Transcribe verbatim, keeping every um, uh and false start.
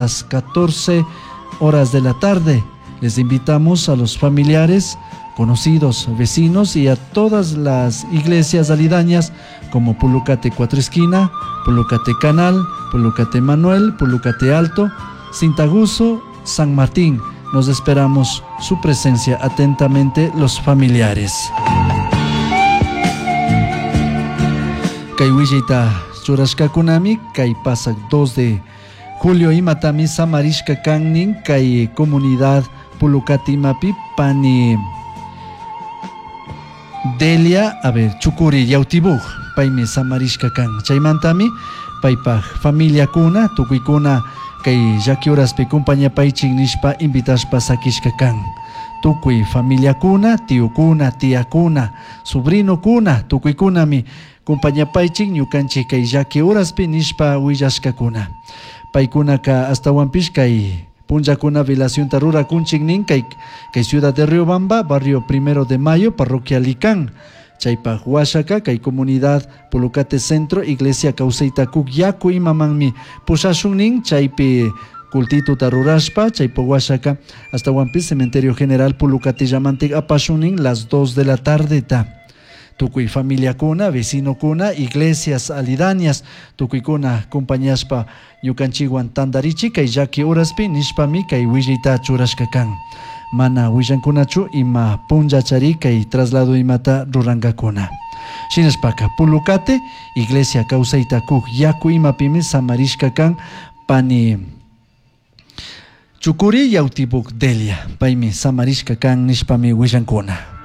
Las catorce horas de la tarde. Les invitamos a los familiares, conocidos, vecinos y a todas las iglesias aledañas como Pulucate Cuatro Esquina, Pulucate Canal, Pulucate Manuel, Pulucate Alto, Cintaguso, San Martín. Nos esperamos su presencia atentamente los familiares. Kay willayta churashkakunami kay pasak dos de julio imatami samarishka kannin kay comunidad Pulucate imapi pani Delia, a ver, Chukuri Yautibuj, paymi samarishka kan. Chaymantami paypaj familiakuna, tukuykuna kay llaki horaspi kumpañapaychik nishpa invitashpa sakishka kan. Tukuy familiakuna, tiokuna, tiakuna, sobrinokuna, tukuykunami kumpañapaychik ñukanchik kay llaki horaspi nishpa willashkakuna. Paykunaka astawanpish kay punllakuna velacionta rurakunchik nin kay, kay ciudad de Riobamba, barrio Primero de Mayo, parroquia Licán. Chaypaj washaka kay comunidad Pulucate Centro, iglesia Kawsayta Kuk Yaku imamanmi pushashun nin chaypi cultituta rurashpa, chaypaj washaka astawanpis Cementerio General Pulucate llamantik apashun nin las dos de la tarde ta. Tukuy familiakuna, vecinokuna, iglesias alidañas, tukuykuna compañaspa ñukanchikwan tantarichi kay llaki horaspi nishpami kay willayta churashka kan. Mana willankunachu ima punllachari kay traslado imata rurankakuna. Shinashpaka Pulucate, iglesia Kawsayta Kuk Yaku imapimi samarishka kan pani Chukuri Yautibuk Delia, paymi samarishka kan nishpami willankuna.